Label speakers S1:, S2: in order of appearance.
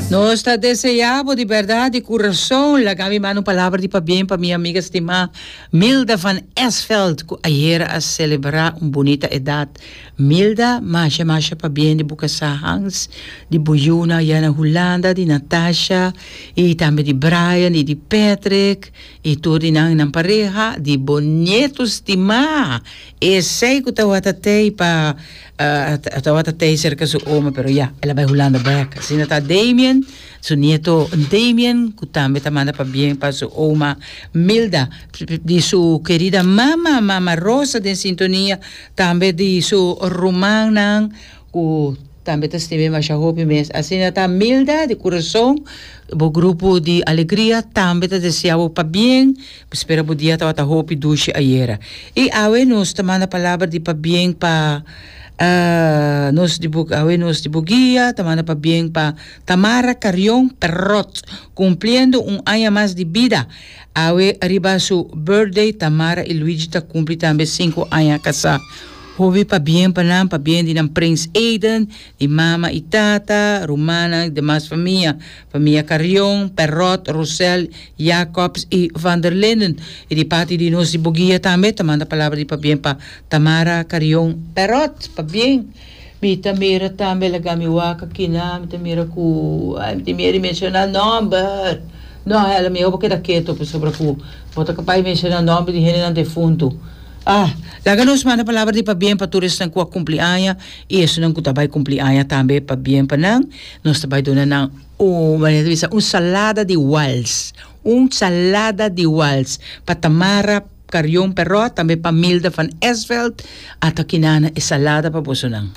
S1: Nos ta deseá bo di bèrdat di kurason. Laga mi manda un palabra di pabien pa mi amiga stimá Milda van Esveld ku ayera a selebrá un bunita edat. Milda, masha masha pabien di bo kasá Hans, di bo yunan ayá na Hulanda, di Natasha i tambe di Brian i di Patrick i tur di nan nan pareha, di bo nieto stimá esei ku tawata tei pa Tabata tei serka su oma pero ya el a bai Hulanda bek. Asina ta Damien, su nieto Damien ku tambe ta manda pabien pa su oma Milda, di su kerida mama, mama Rosa den sintonia, tambe di su rumannan ku tambe ta stim'é masha hopi mes. Asina ta Milda di kurason, bo grupo di alegria tambe ta desea bo pabien. Spera bo dia tabata hopi dushi ayera. I awe nos ta manda palabra di pabien pa nos di bo awe nos di bo guia ta manda pabien pa Tamara Carrion Perrot cumpliendo un aña mas di bida. Awe riba su birthday Tamara i Luigi ta cumpli tambe sinku aña casá. Hopi pabien pa nan, pabien di nan prins Aiden, di mama i tata, rumannan i demas famia. Famia Carrion, Perrot, Rosel, Jacobs y Van der Linden. Y di parti di nos di Boguia tambe ta manda palabra di pabien pa Tamara Carrion Perrot. Pabien. Mi ta mira tambe laga mi wak akina, mi ta mira cu ay mi tin miedo di menciona nomber. No Helen, miho bo keda keto pasobra cu bo ta capaz di menciona nomber di hendenan defunto. Ah, laga nos manda palabra di pabien pa tur esnan cu a cumpli aña y esunnan cu ta bay cumpli aña tambe pabien pa nan. Nos ta bay duna nan un, manera ta bisa, un salada di wals. Un salada di wals pa Tamara Carrion Perrot, tambe pa Milda van Esveld. Ata kinana e salada pa bosonan.